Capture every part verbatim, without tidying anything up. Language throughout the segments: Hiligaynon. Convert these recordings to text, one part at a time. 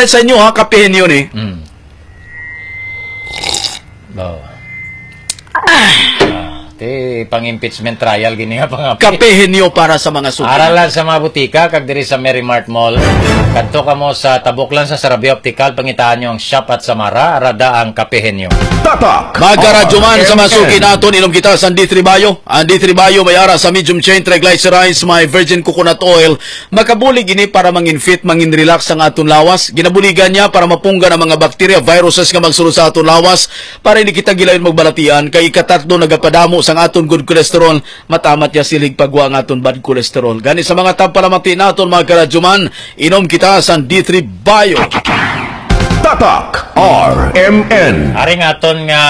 Sa inyo, ha, kapihin yun eh. Mm. Oh. Ah, ti pang impeachment trial gini nga pang Kapihin nyo para sa mga suki. Aralan sa mga butika kag diri sa Merry Mart Mall. Kadto kamo sa tabok lang sa Sarabia Optical, pangitaan nyo ang Shop at Samara, arada ang kapihin nyo. Tatak Magkaradyo man sa mga suki naton, inom kita sa D three Bio. Ang D three Bio may ara sa medium chain triglycerides, may virgin coconut oil. Makabulig ini para mangin fit, mangin relax ang aton lawas. Ginabuligan niya para mapunggan ang mga bakterya, viruses nga magsulod sa aton lawas, para hindi kita gilayon magbalatian. Kay ikatatlo, nagapadamo sang aton good cholesterol. Matamat niya silig pagwa ang aton bad cholesterol. Gani sa mga tagpalamati naton, mga karadyo man, inom kita sang D three Bio. Tatak R M N. Ari nga aton nga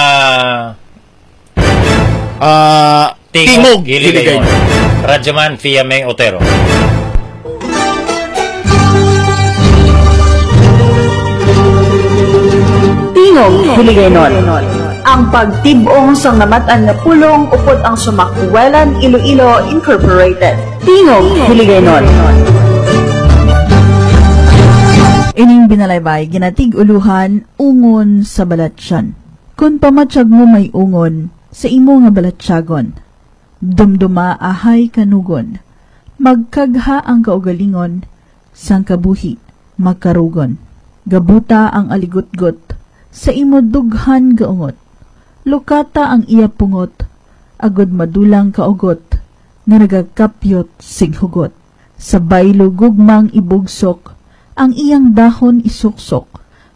Ah, Tingog, Tingog Hiligaynon. Hiligaynon. Radyoman Fia May Otero. Tingog Hiligaynon. Ang pagtib-ong sang namatan nga pulong upod ang Sumakwelan Iloilo Incorporated. Tingog Hiligaynon. Ining binalaybay ginatig-uluhan ungon sa balatyan. Kon pamatyag mo may ungon sa imo nga balatyagon, dumduma ahay kanugon, magkagha ang kaugalingon, sang kabuhi makarugon. Gabuta ang aligutgot sa imo dughan gaungot, lukata ang iya pungot, agud madulang kaugot nga nagakapyot sing hugot. Sa baylo gugmang ibugsok, ang iyang dahon isuksok,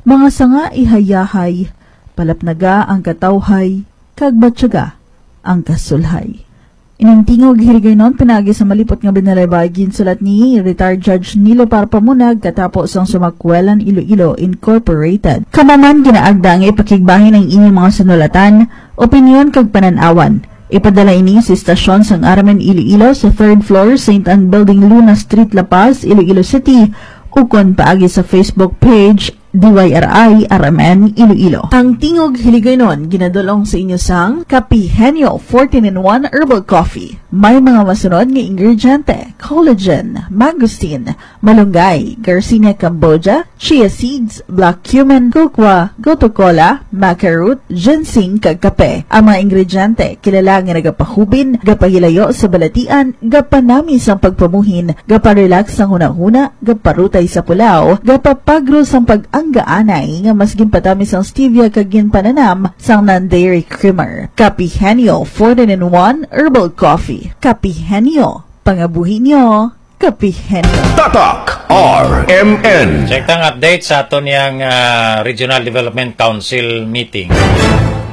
mga sanga ihayahay, palapnaga ang katawhay, kag batyaga ang kasulhay. Ining Tingog Hiligaynon pinaagi sa malipot nga binalaybay ginsulat ni Retired Judge Nilo Parpamunag katapo sang Sumakwelan Iloilo Incorporated. Kamo man ginaagda nga ipakigbahin ang inyong mga sinulatan, opinyon kag panan-awan. Ipadala ini sa istasyon sang R M N Iloilo sa third floor, Saint Ann Building, Luna Street, La Paz, Iloilo City, ukon paagi sa Facebook page D Y R I R M N Iloilo. Ang Tingog Hiligaynon ginadul-ong sa inyo sang Kapihenyo fourteen in one Herbal Coffee. May mga masunod nga ingrediente: collagen, mangosteen, malunggay, Garcinia cambogia, chia seeds, black cumin, cocoa, gotu kola, maca root, ginseng, kag kape. Ang mga ingrediente kilala nga nagapahubin, gapahilayo sa balatian, gapanami sang pagpamuhin, gaparelax sang hunahuna, gaparutay sa pulaw, gapapagro sang pag-anggaanay nga mas ginpatamis sang stevia kag ginpananam sang non-dairy creamer. Kapihenyo fourteen in one Herbal Coffee. Kapihenyo, pangabuhi nyo. Kapihenyo. Tatak R M N. Check tang update sa aton yang, ah, Regional Development Council meeting.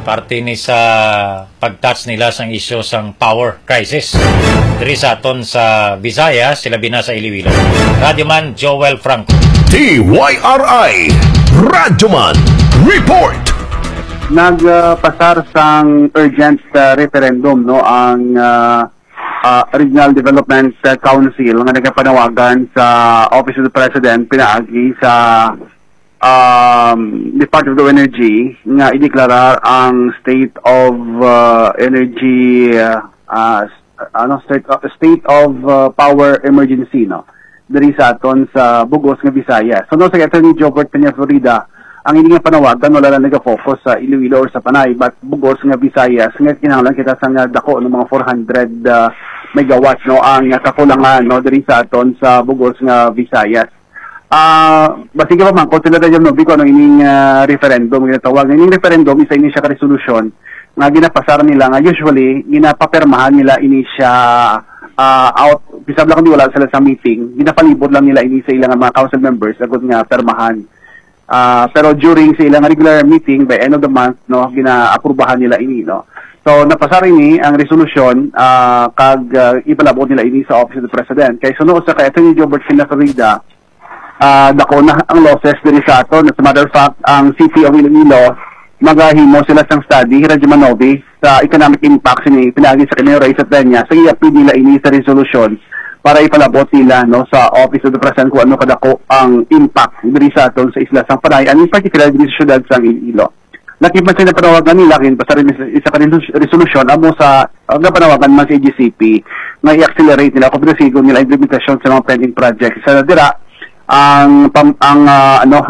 Parte ni sa pag-touch nila sang isyu sang power crisis diri sa aton sa Visayas, sila bina sa Iloilo. Radyoman Joel Franco. D Y R I Radyoman Report. Nagpasar sang urgent, ah, referendum, no, ang, ah, ah, Regional Development, ah, Council nga nagapanawagan sa Office of the President pinaagi sa um, Department of Energy nga ideklarar ang state of, uh, energy, uh, uh, s-, ano, state, uh, state of, uh, power emergency, no, diri sa aton sa bugos nga Visayas. So, no, sa Attorney Jobert Peña Florida, ang ini nga panawagan wala lang naga-focus sa Iloilo or sa Panay, but bugos nga Visayas nga kinahanglan kita sa nga dako, no, mga four hundred, uh, megawatt, no, ang kakulangan, no, diri sa aton sa bugos nga Visayas. Ah, basig pa man, kung sila tayo, no, kung ano ining, ah, referendum, ginatawag. Ining referendum, isa ini siya ka resolusyon nga ginapasar nila, nga usually, ginapapirmahan nila ini siya, ah, out, bisag lang kung wala sila sa meeting, ginapalibot lang nila ini sa ilang mga council members, agud nga pirmahan. Ah, pero during sa ilang regular meeting, by end of the month, no, ginaaprubahan nila ini, no. So, napasar ini ang resolusyon, ah, kag, ah, ipalabot nila ini sa Office of the President. Kay suno sa kay Attorney Jobert Peña Florida, ah, dako na ang losses diri sa aton. As a matter of fact, ang City of Iloilo, magahimo sila sang study, Radyo Manobi, sa economic impact sini pinaagi sa kanilang raise at niya. Sa iya, pwede nila ini sa resolusyon para ipalabot nila, no, sa Office of the President kung ano kadako ang impact diri sa aton sa isla sang Panay, and in particular diri sa syudad sang Iloilo. Lakipan sa napanawagan nila, kay pasar ini sa isa ka resolu-, resolusyon amo sa, ang napanawagan man sa A G C P nga i-accelerate nila kung pinasigon nila implementasyon sa mga pending projects. Sa dira, ang pam-, ang, ah, ano,